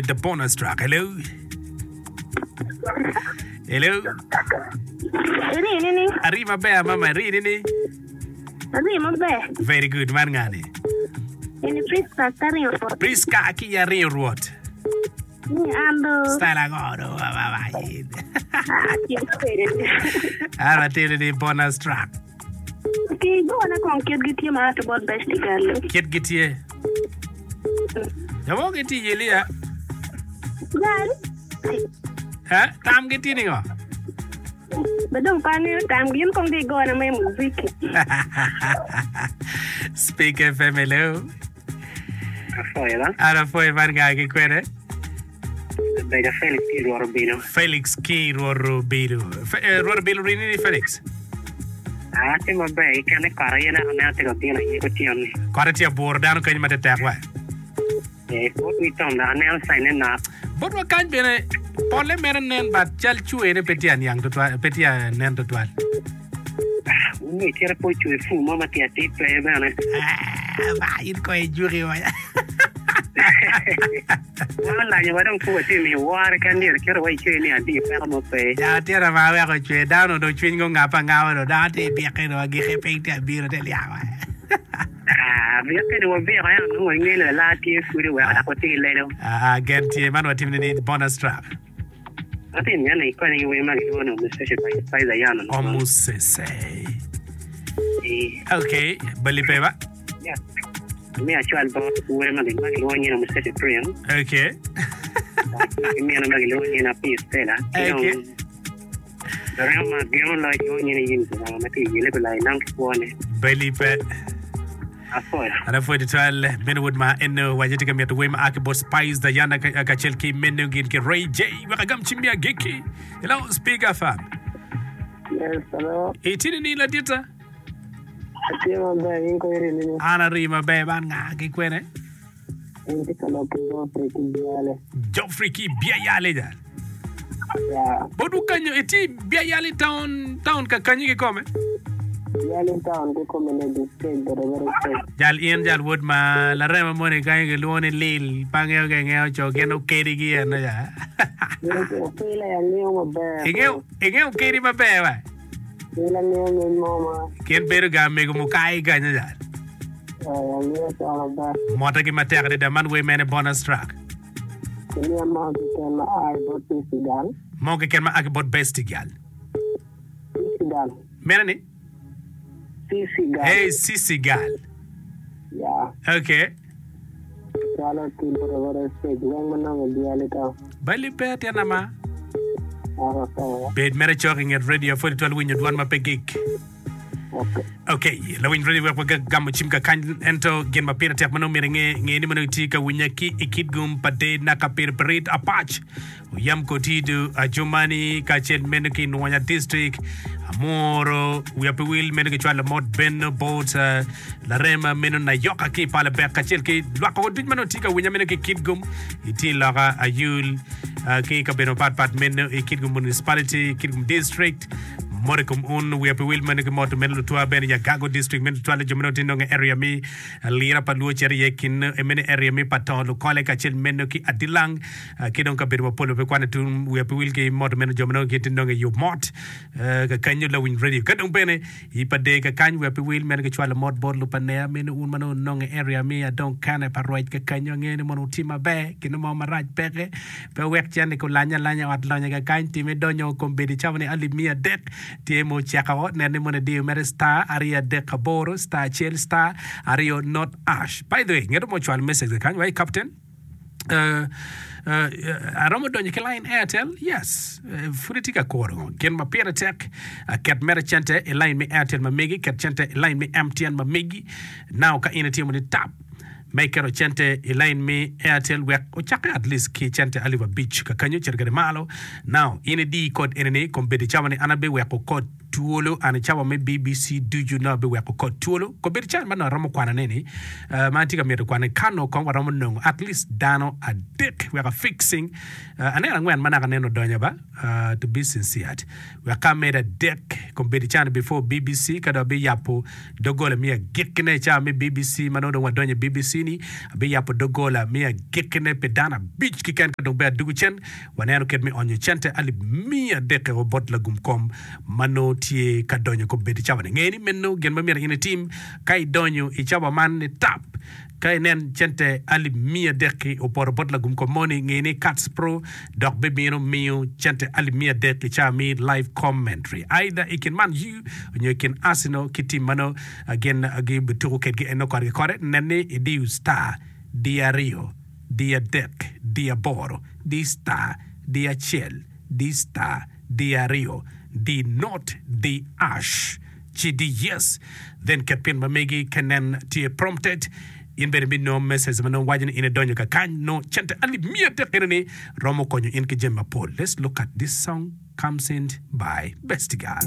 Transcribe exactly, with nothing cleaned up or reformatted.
The bonus track. Hello. Hello. Iri nini? Ari maber mama, iri nini? Ari maber. Very good, man ngani. Eni Priska karingo rwot. Priska ki aringo rwot. Ni ando. Style ango do mama yin. Ah, tye maber. An atye ni bonus track. Ki gona kong kit gitye ma ato bot bestie girl. Kit gitye. Jo mo gitye yelia. Gal. Eh, tam gitye ningo? Be dong pa angeyo tam gin kong di gona me muziki. Speak F M, hello. Afoyo ba? An afoyo man nga ki kwene? Bedo Felix ki Rwot Obilo. Felix ki Rwot Obilo. Fe- eh, Rwot Obilo rini ni Felix. Ah, tye maber kikene kot aye naka aneno tye ka bino aye kutyeno-ni. Kote tye aburo dano kenyo ma tetek wa. Eh, bot wi tom dok aneno caine nok. Botwa kany bene polle mere nen but cal cwene pe tye aniang tutwal, pe tye nen tutwal. Wunge cito pe ocwe pur mo ma tye atir pe bene. Ah, ba in ko ijuki wa. Wan olanyo wa dong pud watye miyo woro keken myero kite wa icwe ni adi peko mo pe. Ja tira ma weko cwe dano dong cwiny go ngap angaba dong dano tye ibike dong agike piny tye abiro te lyaba. Ah, bikke ni wabiko ento nongo inge ni lala tye pud weko dok watye ki lelo. Ah, gen tye man watimo ni bonus track. Atye mito ni ikonye ki wer ma gilwongo ni Omusese by Spice Diana. Omusese. Eh, Okay, bali pe ba? Yeah. Mi acwal bot wer ma gilwongo ni Omusese Prince. Okay. Ki mino ma gilwongo ni Api Stella. Ki Okay. dong Loremo ma gino loyo gilwongo ni Eunice Obama ma tye i yele gulai nam ki kwone. Bali pe. Afoyo. An apwoyo tutwal meno wod ma eno waco tye ka mito wer ma a ki bot Spice Diana ka- kacel ki meno gin ki Ray J. Wek agam cim mi agikki. Hello, Speak F M. Yes, hello. Itini ni ladita? Atye maber, in ko iri nini? An ari maber man nga ki kwene? In tye ka lok ki Geoffrey ki Biale. Geoffrey ki Biayale jal. Yeah. Botwu kanyo iti Biayale town town ka kanyi kikome. Biale town kikome ne district boda boda state. Jal in jal wod ma larema moni kanyo gilwongo ni Lil pangeo ke ngeo co gin okedi gi en ya. Okela ya ngeo maber. Ingeo ingeo kedi maber wa. Okela ngeo ngeny mo ma Gin bedo ga mego mukai kanyo jal. eh, angeo co maber. Mote gi matek adada man wer mene bonus track. Kimiya mo keken ma ai bot Sisi Gal. Mo keken ma aki bot Bestie Gal. Sisi Gal. Mene ni? Sisi Gal. Hey, Sisi Gal. Yeah. Okay. Cwalo ki boda boda state weng manongo Biale town. Bali pe tyen ama. Aka sawa. Bed mere cok i nget radio pwod itwal winyo dwan ma pe gik. Okay. Okay, lawiny radio wek wagamo cim ka kany ento gin ma pire tek ma nongo myero inge nge ni ma nongo itye ka winya ki i Kitgum pa de naka piripirit apac oyam kotido ajumani kacel meno ki Nwonya district amuro wiya pe wil meno gicwalo mot beno bot uh, larema meno nayoka ki pala bek kacel ki lwak duc ma nongo tye ka winya meno ki Kitgum itye loka ayul uh, ki kabedo mapatpat meno i Kitgum municipality, Kitgum district mote kom un wiya pe wil meno ki moto meno lutwa bene Yagago district meno tutwale jo meno tye nongo area mi lira pa luo cito iye kin meno area mi pa to lukole kacel meno ki Adilang uh, ki dong kabedo mapol pe kwane tung wiya pe wil ki moto meno jo meno gitye nongo i yub mot uh, kakanyo lawiny radio ka dong bene i pa de kakany wiya pe wil meno gicwalo mot bot lupanea meno un ma nongo nongo area mi adong kane pa rwec kakanyo angeyo ni mono wuti maber kino mo marac peke pe wek cen kulanya alanya ot lonyo kakany time donyo kombeddi cawa ni alip mia adek tye mo ceko nen ni mono idiyo mere star ariyo adek aboro star acel star ariyo not hash. By the way, ngeto mo cwalo message kakany wai captain, uh, uh, aromo donyo ki line Airtel? Yes, uh, pud itye ka kuro gin ma pire tek uh, ket mere cente i line mi Airtel ma megi, ket cente i line mi M T N ma megi. Now ka in itimo ni tap ma iketo cente i line mi Airtel wek ocakke at least ki cente alip abic kakanyo cito kede malo. Now in idi code enini kombeddi cawa ni an abiweko code. twolo an i cawa me B B C ducu nongo abiweko kod twolo kobedo can ma nongo aromo kwanone ni uh, ma atye ka mito kwane kano kong waromo nongo at least dano adek wek afixing uh, aneno angwen ma naka aneno odonyo ba uh, to be sincere wek ka amedo adek kobedo can before B B C ka dong abiyabo doggola me agikkine i cawa me B B C ma nongo dong wadonyo i B B C ni abiyabo doggola me agikkine pi dano abic keken ka dong be adugu cen waneno kit me onyo cente alip miya adek o bot lagum kom ma nongo tye ka donyo kobedo i cawa ni nge ni meno gin ma myero in itim ka idonyo i cawa man ni tap ka inen cente alip miya adek-ki opoto bot lagum kom moni nge ni Kats Pro dok bibino miyo cente alip miya adek i cawa mi live commentary either i kin Man U nyo i kin Arsenal ki tim mano gin gibituko kedgi eno kore ki kore nen ni idiyo star di aryo di adek di aboro di star di acel di star di aryo di not di hash ci di yes then ket pin ma megi ka nen tye prompted in bene binongo message ma nongo waco ni in idonyo kakany no cente alip miya adek eno ni romo konyo in ki jami mapol. Let's look at this song, comes in by Best Girl.